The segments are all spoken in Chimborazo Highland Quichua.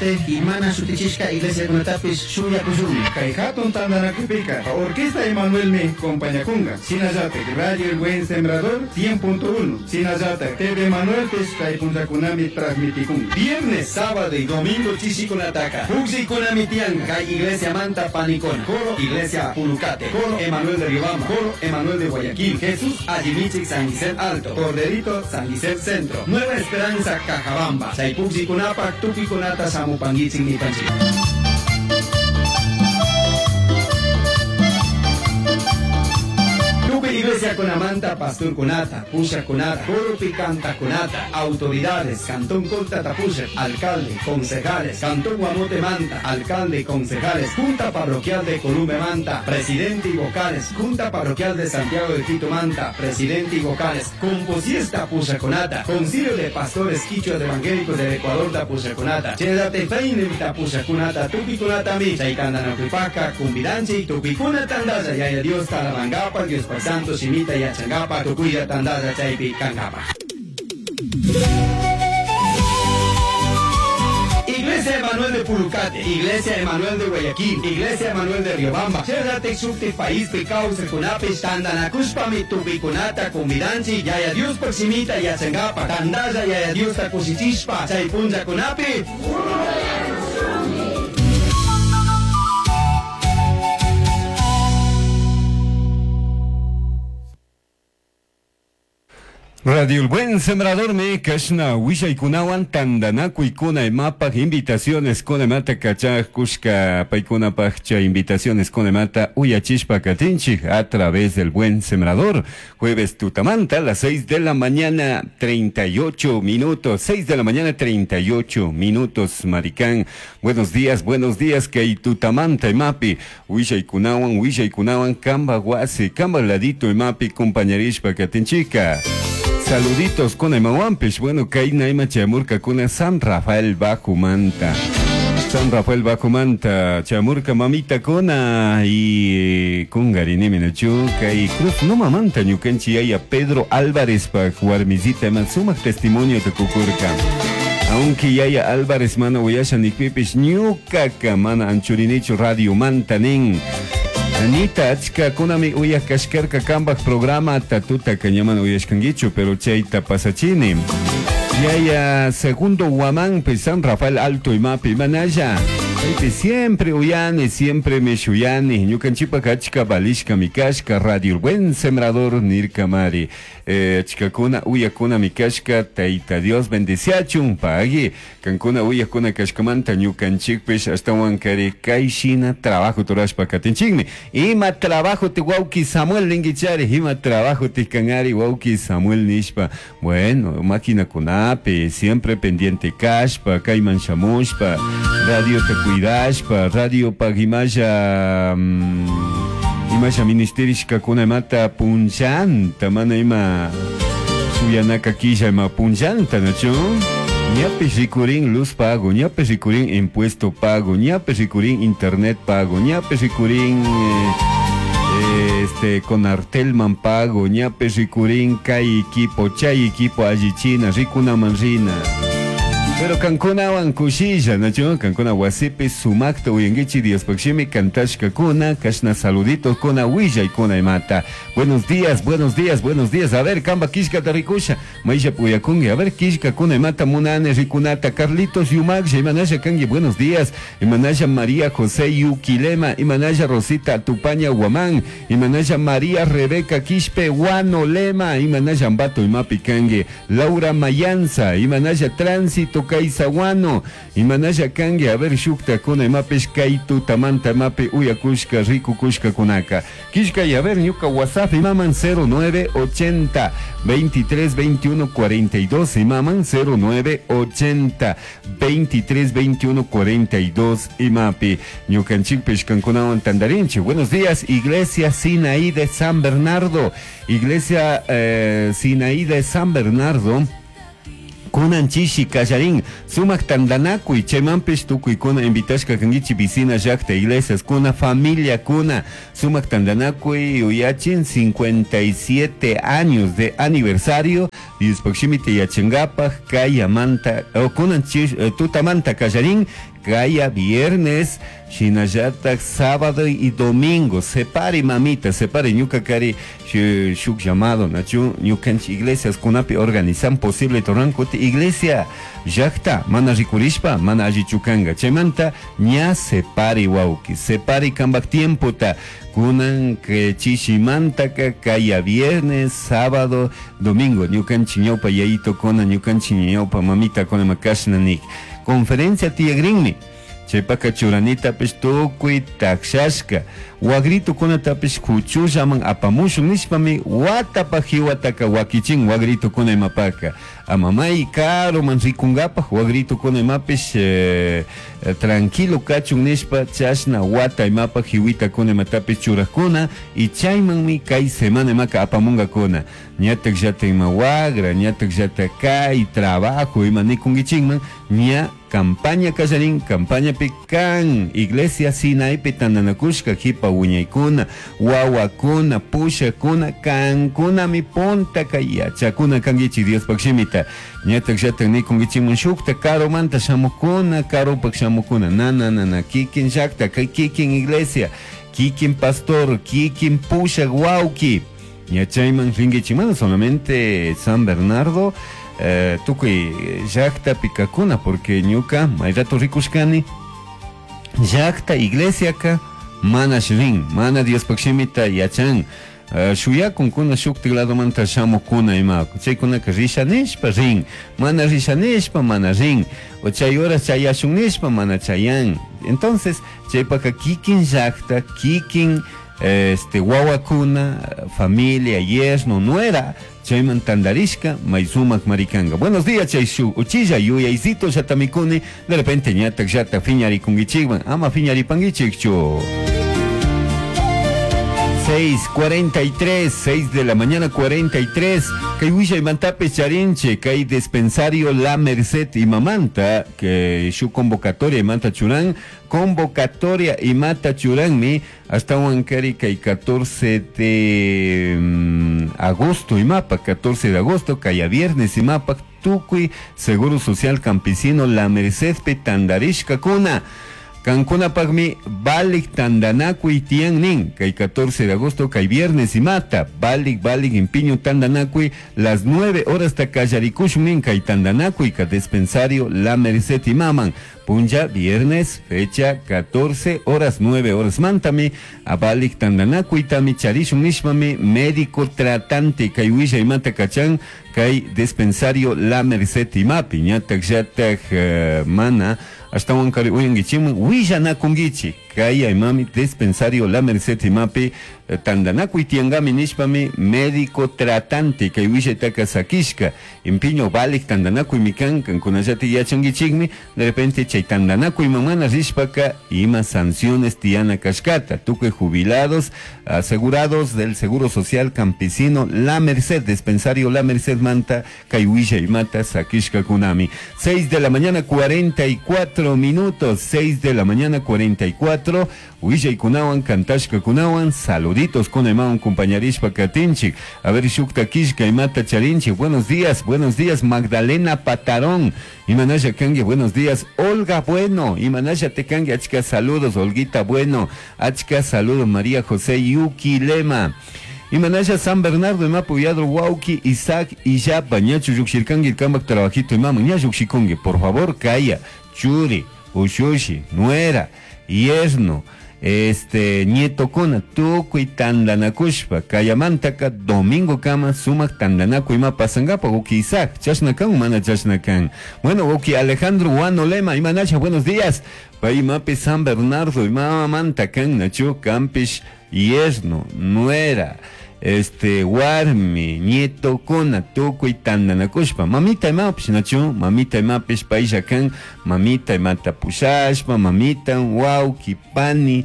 Y mana shutichishka iglesiakunatapish shuyakushunmi. Kay hatun tantanakuypika Orquesta Emanuelmi compañakunka. Shinallatak Radio El Buen Sembrador 100.1. Shinallatak TV Emanuelpish kay punllakunami transmitikunka. Viernes, sábado y domingo chishikunataka. Pukllaykunami tiyan kay iglesia manta panikuna. Coro Iglesia Pulucate. Coro Emanuel de Riobamba. Coro Emanuel de Guayaquil. Jesús Allimichik San Gisel Alto. Corderito San Gisel Centro. Nueva Esperanza Cajabamba. Chay pukllikunapak tukuikunata shamupanguichik nipanchik. Tukuy iglesia kunamanta pastor kunata, pusha kunata, coropi canta kunata, autoridades, cantón Colta Tapusha, alcalde, concejales, cantón Guamote Manta, alcalde, concejales, junta parroquial de Columbe Manta, presidente y vocales, junta parroquial de Santiago de Quito Manta, presidente y vocales, composiesta Pushaconata, concilio de pastores quichuas evangélicos del Ecuador da Pushaconata, Chenate Feinem ta Pushaconata, Tupiconata mi, Chaitandanakuipaka, Cumbidanchi, Tupicuna Tandaya, Yaya Dios Talabangapa, Dios Pai Santo, Shimita Yachangapa, Tucuya Tandaya, Chaipi, Cangapa. Iglesia Emanuel de Pulucate, Iglesia Emanuel de Guayaquil, Iglesia Emanuel de Riobamba, Cherrate Xukti País Picau Secunape, Tandanacuspami, Tupicunata, Cumbidanchi, Yaya Dios Proximita, Yachangapa, Tandaya, Yaya Dios Tacusichishpa, Chaypunja Cunapi. Radio El Buen Sembrador me kashna willaykunawan tantanakuykuna imapaj invitaciones kunamata kachaj kushka paykunapaj chay invitaciones kunamata uyachishpa katinchik a través del Buen Sembrador. Jueves tutamanta a las 6 de la mañana 38 minutos, 6 de la mañana 38 minutos, Maricán. Buenos días, kay tutamanta imapi willaykunawan willaykunawan kamba wasi kamba ladito imapi compañerishpa katinchika. Saluditos con Emahuampish. Bueno, kay naima chamurka kuna San Rafael Bajo Manta. San Rafael Bajo Manta, chamurka mamita kuna y kungarinimi nachu kay Cruz no mamanta ñukanchi yaya Pedro Álvarez pa warmisita man sumak testimonio te kukurka. Aunque yaya Álvarez mana uyasha nikpipish ñukaka mana anchurinichu radio manta nin. Anita, achka kunami uyaj kashkarka kambaj programa tatuta kañaman uyashkanguichu, pero chayta pasachini. Yaya segundo Guamán, pues San Rafael Alto y Mapi, manaya. Chaypi siempre uyani, siempre me shuyani. Ñukanchipa achka balishka mikashka, Radio El Buen Sembrador nirkamari. Achkakuna uyakuna mikashka, Taita Dios bendiciachun, pagui. Kankuna uyakuna kashkamanta ñukanchikpish ashtawan kari kayshina trabajo turashpa katinchikmi. Ima trabajo te wauki Samuel ninguichari, ima trabajo te kanari wauki Samuel nishpa. Bueno, máquina kunapi, siempre pendiente kashpa, kayman shamushpa, radio te cuidashpa, radio pagimaya imasha ministerishka kuna imata punchanta, mana ima suyanaka kisha ima punchanta, ¿no? Ñape rikurin luz pago, ñape rikurin impuesto pago, ñape rikurin internet pago, ñape rikurin con Artelman pago, ñape rikurin kay equipo, chay equipo allichina, rikuna manrina. Pero kankunawan kushilla, ¿no? Kankuna wasipi sumakta uyanguichi Diospakshimi kantashka kuna, kashna saluditos kuna willa y kuna imata. Buenos días, buenos días, buenos días. A ver, kamba kishka tarikusha, maisha puyakungi. A ver, kishka kuna imata munane rikunata, Carlitos Yumaksha, imanasha kangi, buenos días. Imanasha María José Yuquilema, imanasha Rosita Tupaña Guamán, imanasha María Rebeca Quispe Guano Lema, imanasha Ambato Imapi kangi, Laura Mayanza, imanasha Tránsito Kaisaguano, imanasha kangi, a ver, shukta kuna imapish kaitu tamanta imapi uyakushka riku kushka kunaka. Kishka y a ver, ñuka WhatsApp imaman 0980 23 21 42, imaman 0980 23 21 42 imapi. Ñukanchikpish kankunawan tandarinchi. Buenos días, Iglesia Sinaí de San Bernardo. Iglesia Sinaí de San Bernardo. Kunan chishi kallarin sumak tandanakuy chaymanpish tukuykuna invitashka kankichik vicina llaqta iglesias kuna familia kuna sumak tandanakuy uyachin 57 años de aniversario Diospakshimita yachankapaj kayamanta kunan tutamanta kallarin Kaya viernes, shinallatak sábado y domingo. Separe mamita, separe ñuka kari shuk llamado, nachu ñukanchik iglesias kunapi organizan posible torrankuti iglesia llakta mana rikurishpa mana allichu kanga. Chaymanta ña separe wawki, separe kambak tiempota kunan que chishimantaka kaya viernes, sábado, domingo ñukanchik ñawpa yayitokuna ñukanchik ñawpa mamitakuna makashna nik. Conferencia tiyagrinmi. Chaypaka churanitapish tukuy takshashka wagritukunatapish kuchullaman apamushun nishpami watapa hiwataka wakichin wagritukuna imapaka amamay karuman rikunkapaj wagritukuna imapish tranquilo kachun nishpa chashna wata imapaj hiwitakuna imatapish churakuna y chaymanmi kay semana imaka apamunkakuna ñatak llata ima wagra ñatak llata kay trabajo ima nikunkichikman ña campaña kallarin campañapi kan iglesia Sinaipi tantanakushka hipa wiñaykuna wawakuna pushakuna kankunami puntaka yachakuna kankichik Diospaj shimita ñatak llatak nikunkichikman shukta karumanta shamukuna karupak shamukuna na na na na kikin llakta kay kikin iglesia kikin pastor kikin pushak wawki ña chayman rinkichik mana solamente San Bernardo tukuy llaktapi kakuna porque ñuka may rato rikushkani llakta iglesiaka mana rin mana Diospaj shimita yachan shuyakunkuna shuktik ladomanta shamukuna ima chaykunaka risha nishpa rin mana risha nishpa mana rin o chay horas chayashun nishpa mana chayan. Entonces chaypaka kikin llakta kikin wawakuna familia yerno nuera chayman tandarishka may sumak marikanga. Buenos días chay shuk uchilla yuyaycito llatamikuni de repente ñatak llata fiñarikunkichikman ama fiñaripankichikchu. 6:43, 6 de la mañana 43. Kay wishay charinche, kay dispensario La Merced y Mamanta, que su convocatoria y manta churán, convocatoria y mata churán hasta Huancari kay 14 de agosto y mapa, 14 de agosto, kay a viernes y mapa, tukuy, Seguro Social Campesino La Merced Petandarishka kuna. Kankunapaqmi valik tandanakuy tiyan nin kay 14 de agosto kay viernes y mata valik valik impiño tandanakuy las 9 horas takallarikushun nin kay tandanakuy ka dispensario La Merced y maman punlla viernes fecha 14 horas 9 horas mantami a valik tandanakuy tami charishun nishmami médico tratante kay willa y mata kachan kay dispensario La Merced y mapi ñatak llatak mana hasta huancari uyankichikman willanakunkichik kay aymami dispensario La Merced imapi tandanakuy tiyankami nishpami médico tratante kay willaytaka sakishka impiño valik tandanakuymi kan kankunallata yachankichikmi de repente chay tandanakuyman mana rishpaka ima sanciones tiyana kashkata tukuy jubilados asegurados del Seguro Social Campesino La Merced dispensario La Merced manta kay willaymata sakishkakunami. 6 de la mañana 44 minutos, 6 de la mañana 44, willaykunawan kantashkakunawan saluditos con imawan compañerishpa katinchik. A ver shukta kishka imata charinchik. Buenos días Magdalena Patarón. Imanaya kangi, buenos días Olga Bueno. Imanaya te kangi, achka saludos Olguita Bueno. Achka saludos María José Yuki Lema. Imanaya San Bernardo imapu yadro wauki Isaac Illapa ñachu llukshirkangi kambak trabajito imama ña llukshikungi por favor kaya churi ushushi nuera yerno nietokuna tukuy tandanakushpa kayamantaka domingo kama sumak tandanakuy ima pasankapa uki Isaac chashna kan mana chashna kan. Bueno uki Alejandro Guano Lema imanasha buenos días pay imapi San Bernardo imamanta kan nachu kampish yerno nuera warmi nietokuna tukuy tandanakushpa mamita imapish nachu mamita imapish paylla kan mamita imata pushashpa mamita wawki pani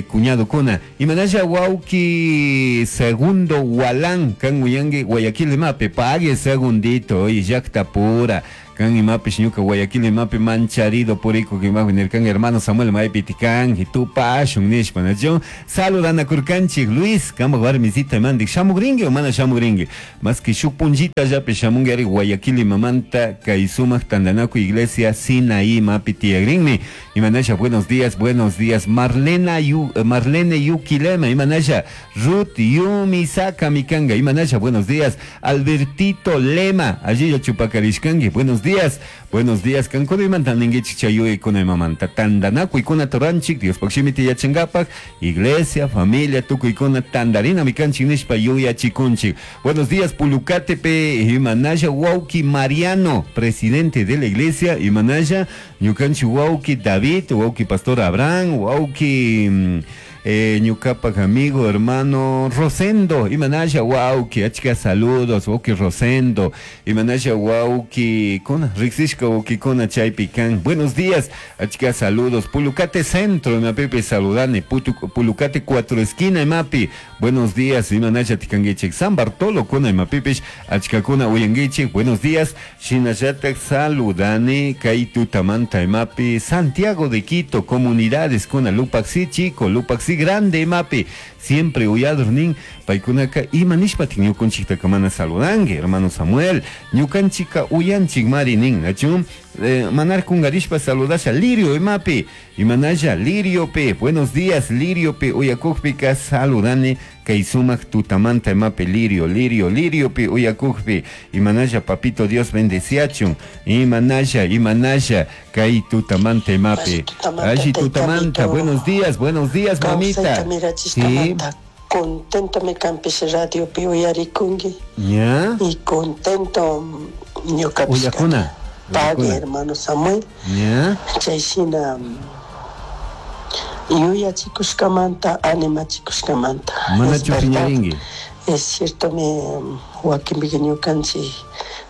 cuñadokuna imanasha wawki segundo walán kan uyanki Guayaquil imapi pague segundito oye llakta pura Kan imapish ñuka Guayaquil imapi mancharido purikuk imapi nirkan hermano Samuel maypi tikanki tupashun nishpa nachu saludanakurkanchik Luis kambak warmisita imandik shamukrinki o mana shamukrinki maski shuk punllitallapi shamunki ari Guayaquil imamanta kay sumak tantanakuy iglesia Sinaí imapi tiyakrinmi. Imanasha buenos días, buenos días. Marlena Yu, Marlene Yuquilema, Imanasha Ruth Yumisaka Mikanga, Imanasha, buenos días. Albertito Lema, allí ya chupacarishkangi, buenos días, buenos días. Kankuna imanta ninguichik chayuykuna imamanta tantanakuykuna turanchik, Diospaj shimita yachankapak, iglesia, familia, tukuykuna tandarina mikanchik nishpa yuyachikunchik. Buenos días, Pulucatepe, Imanasha Wauki Mariano, presidente de la iglesia, Imanasha, ñukanchik Wauki David, Wauki Pastor Abraham, Wauki ñukapak amigo, hermano Rosendo, Imanasha Wauki, achka saludos, Wauki Rosendo, Imanasha Wauki, kuna, riksishka Wauki kuna chaypi kan, buenos días, achka saludos, Pulucate Centro, imapipi saludani, Pulucate Cuatro Esquina, imapi, buenos días, Imanasha tikanguichik, San Bartolo, kuna imapipish, achka kuna uyanguichik, buenos días, shinallatak saludani, kay tutamanta imapi, Santiago de Quito, comunidades, kuna Lupaxi Chico, Lupaxi Grande imapi, siempre uyador nin, paykunaka ima nishpatik ñukanchiktaka mana saludanki, hermano Samuel, ñukanchika uyanchik mari nin, nachu? Manar kungarishpa saludasha Lirio imapi, imanalla Lirio pe, buenos días Lirio pe, uyakukpika saludani, kay sumak tutamanta imapi Lirio, Lirio, Lirio pe, uyakukpi, imanalla papito Dios bendeciachun, imanalla, imanalla, kay tutamanta imapi, alli tutamanta, buenos días, mamita. Sí. Contento me campes radio pi uyarikungi. ¿Ya? Y contento ñuka Uyakuna. Pague, hermano Samuel. ¿Ya? Chaysina yuyachikushkamanta, animachikushkamanta. Manachu piñaringi. Es cierto, me wakinpika ñukanchik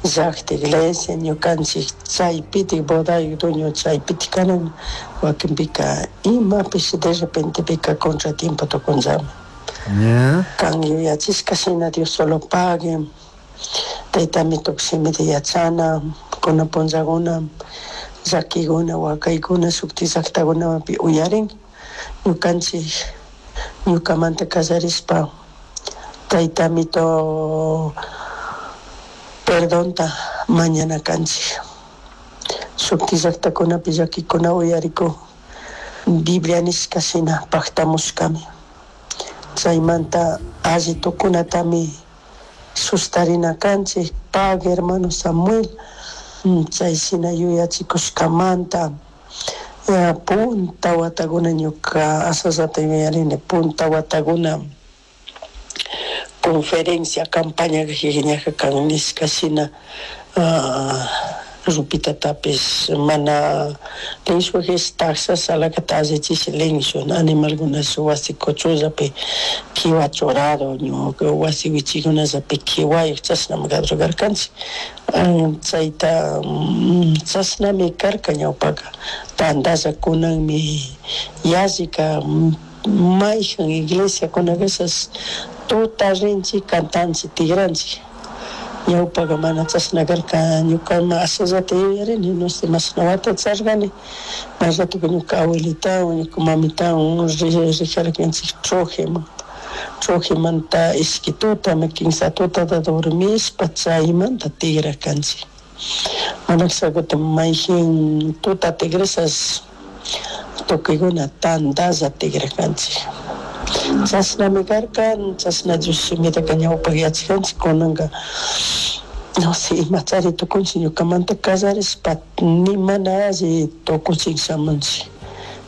llaqta iglesia, ñukanchik chaypitik bodayuk dueño chaypitik kanan, wakinpika imapish de repente pika contratiempo tukunllami. ¿Ya? Kan yuyachishka shina Dios solo pague, taytami tukushimita yachana, kuna punllakuna, llakikuna, wakaykuna, shukti llaqtakunapi uyarin, ñukanchik ñukamanta kallarishpa taytamito perdonta mañana kanchik. Shukti llaqtakunapi llakikuna uyarikun, Biblia nishka shina paktamushkami. Chaymanta alli tukunatami sustarina kanchik, pague hermano Samuel, chay shina yuyachikushkamanta, punta watakuna ñuka asallata yuyarini, punta watakuna conferencia, campaña ñaja kan nishka shina, rupitatapis mana linshujes taxas alakata allichish linshun animalkunash wasi kuchullapi kiwa churado ñuka wasi wichikunallapi kiwayuk chashnami karkanchik. Chayta chashnami karka ñawpaka tantalla kunanmi yallika mayjan iglesiakunakashas tuta rinchik cantanchik tigranchik. Ñawpaka mana chashna karka ñukama ashallata yuyarini, no sé, mashna wata charkani, may ratoka ñuka abuelitawan, ñuka mamitawan rijarkanchik Trojeman, Trojemanta ishki tuta, kimsa tutata dormishpa chaymanta tigrakanchik. Mana kutin mayjin tuta tigrashas tukuykuna tantalla tigrakanchik. Chashnami karka, chashna Dios shimitaka ñawpak yachaskanchik, kunanka no sé, imachari tukunchik ñukamanta kallarishpa ni mana alli tukuchik shamunchik.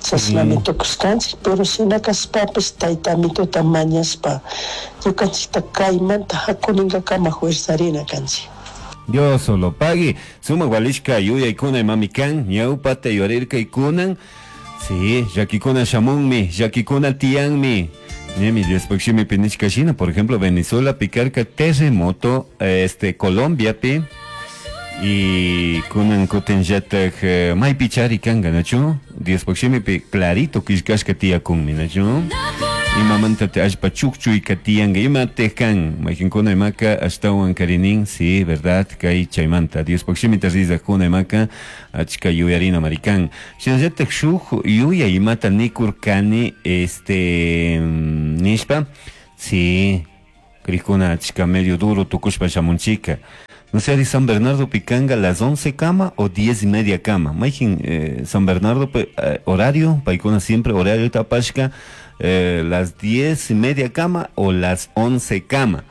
Chashnami tukushkanchik, pero shina kashpapish taytamituta mañashpa ñukanchikta kaymanta hakuninkakama fuerzarina kanchik. Dios solo pague. Suma walishka yuyaykuna imami kan, ñawpata yuyarirkaykunan. Sí, llakikuna shamunmi, llakikuna tiyanmi. Ñemi Diospaj shimipi nishka shina, por ejemplo, Venezuela picarca terremoto, Colombia pi, y kunan kutinllatak maypi chari kanka, nachu? Diospaj shimipi clarito killkashka tiyakunmi, nachu? Imamanta allpa chukchuyka tiyanka imatej kan mayqinkuna imaka ashtawan karinin sí verdad kay chaymanta Diospaq shimita rizaqkuna imaka achka yuyarina marikan shinallataj shuk yuyay imata nikurkani este nishpa sí krikuna achka medio duro tukushpa shamunchika. No sé, de San Bernardo Picanga, las 11 cama o 10 y media cama. Mayqin San Bernardo horario, paykuna siempre horario tapashka, las 10 y media cama o las 11 cama.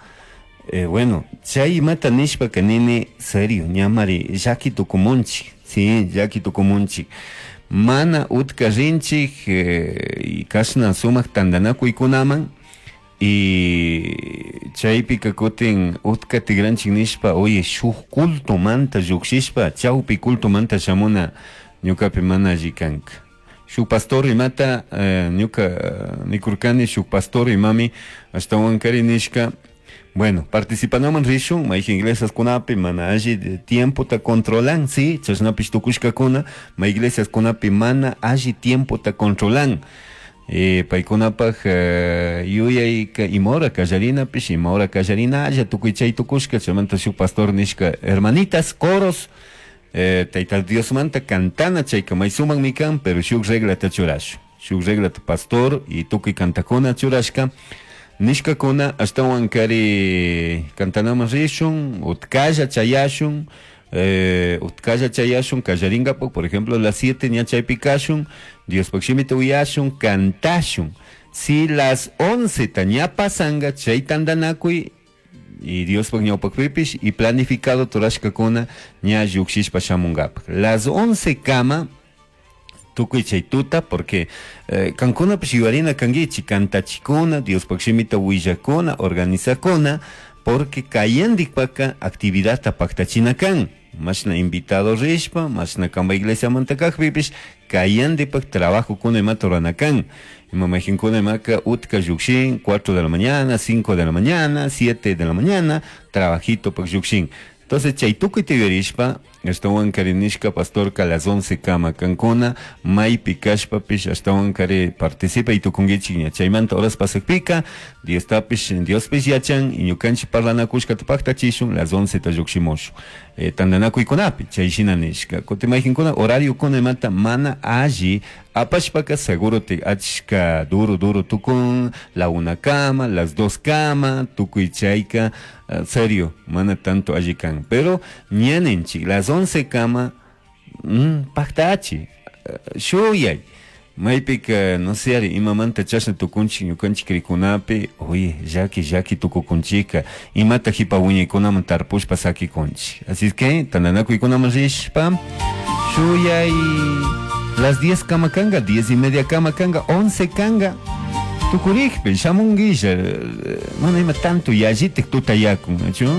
Bueno, chay imata nishpa kanini, serio, ñamari, llaki tukumunchik, sí, llaki tukumunchik. Mana utka rinchik, y kashna sumak tantanakuykunaman, y chaypika kutin utka tigranchik nishpa, oye, shuk cultomanta llukshishpa, chawpi cultomanta shamuna ñukapi mana alli kanka. Shuk pastor imata, ñuka nikurkani, shuk pastor imami, ashtawan kari nishka, bueno, participanaman rishun, mayqin iglesiaskunapi mana alli tiempota controlan, sí, chashnapish tukushkakuna, may iglesiaskunapi mana alli tiempota controlan. Paykunapaj yuyayka ima hora kallarinapish, ima hora kallarinalla, tukuy chay tukushka, chaymanta shuk pastor nishka, hermanitas, coros, Tayta Diosmanta cantana chayka may sumakmi kan, pero shuk reglata churashun, shuk reglata pastor y tukuy kantakuna churashka, nishkakuna ashtawan kari kantanaman rishun, utkalla chayashun, utkalla chayashun, kallarinkapak, por ejemplo, las 7 ña chaypi kashun, Diospaq shimita uyashun, kantashun. Si las 11 ta ña pasanga, chay tantanakuy, y Diospaq ñawpaqpipish, y planificado turashkakuna ña llukshishpa shamunkapak. Las 11 kama, tukuy chay tuta, porque kankunapish yuyarina kankichik, kantachikuna, Diospaq shimita willakuna, organizakuna, porque kayandikpaka actividadta paktachina kan. Mashna invitado rishpa, mashna kamba iglesiamanta kajpipish, kayandipak trabajo kuna imata rurana kan. Ima mayqinkuna imaka utka llukshin, 4 de la mañana, 5 de la mañana, 7 de la mañana, trabajito pak llukshin. Entonces, chay tukuy tiyarishpa, ashtawan kari nishka pastorka a las 11 kama kankuna, maypi kashpapish, ashtawan kari participa y tukunkichik ña. Chaymanta horas pasakpika, Diostapish, Diospish yachan, y ñukanchik parlanakushkata paktachishun, las 11 ta llukshimushun. Tantanakuykunapi, chay shina nishka. Kutin mayqinkuna horariokuna imata mana alli apashpaka seguro te achka duro duro tukun, la 1 kama, las 2 kama, tukuy chayka, serio, mana tanto alli kan. Pero ñaninchik, las 11 kama, paktachi, shuyay. Maypika, no sé, ari, imamanta chashna tukunchik, ñukanchik rikunapi, oye, llaki, llaki tukukunchika, imata hipa wiñaykunaman tarpushpa sakikunchik. Así es que, tantanakuykunaman rishpa, shuyay, las 10 kama kanga, 10 y media kama kanga, 11 kanga, tukurikpi, shamunguilla, mana ima tanto yallitik tutayakun, ¿nachu?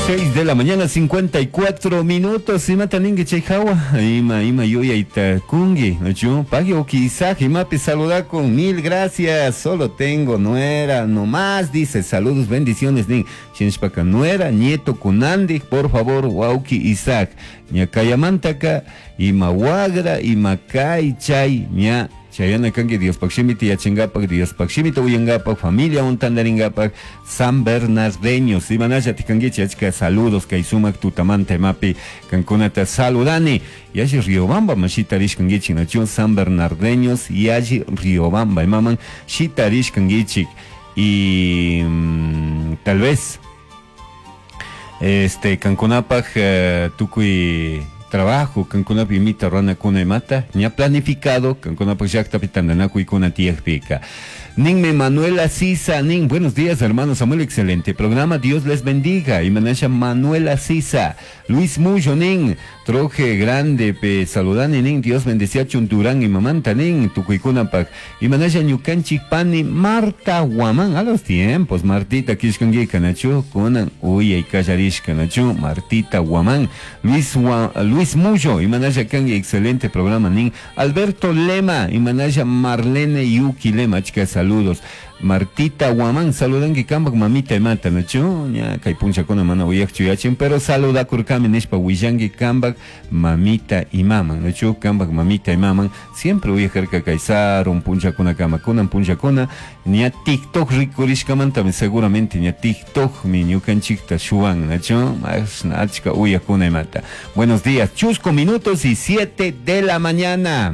6 de la mañana, 54 minutos. Imata ningi chay hawa. Ima, ima yuyayta kungi, ¿nachu? Pagui oki Isaac, imapi saludakun. Mil gracias. Solo tengo nuera nomás, dice. Saludos, bendiciones, nin. Shinshpaka nuera, nieto kunandi, por favor, wauki Isaac. Ña kayamantaka, ima wagra, ima kay chay, ña. Chayana kanki Diospaq shimita yachankapak, Diospaq shimita uyankapak, familia untandarinkapak, San Bernardeños. Imanalla tikankichik, achka saludos kay sumak tutamanta imapi kankunata saludani. Yalli Riobamba man shitarishkankichik, nachu San Bernardeños, yalli Riobamba imaman shitarishkankichik. Y tal vez kankunapaj tukuy trabajo, kankunapi imita runakuna imata, ña planificado, kankunapaj llaqtapi tantanakuykuna tiyaqpika. Ninme Manuela Sisa, nin, buenos días hermano Samuel, excelente programa, Dios les bendiga. Y manasha Manuela Sisa, Luis Muyo, nin, troje grande, pe saludani, nin, Dios bendecía Chunturán y mamanta, nin, tukuykunapaj. Y manasha ñukanchik pani Marta Guamán, a los tiempos, Martita kishkanguika, nachu, kunan, uyay kallarishka, nachu, Martita Guamán, Luis Muyo, y manasha kangi, excelente programa, nin, Alberto Lema, y manasha Marlene Yuki Lema, chicas, saludos. Martita Guamán, saludanki kambak mamita imata, nachu? Ña kay punchakuna mana uyakchu yachin, pero saludakurkami nishpa willanki kambak mamita imaman, nachu? Kambak mamita imaman, siempre uyajarka kay sarun punchakuna kama, kunan punchakuna, ña TikTok rikurishkamantami seguramente ña TikTok mi ñukanchikta shuwan, nachu? Mashna achka uyakuna imata. Buenos días, chusco minutos y 7 de la mañana.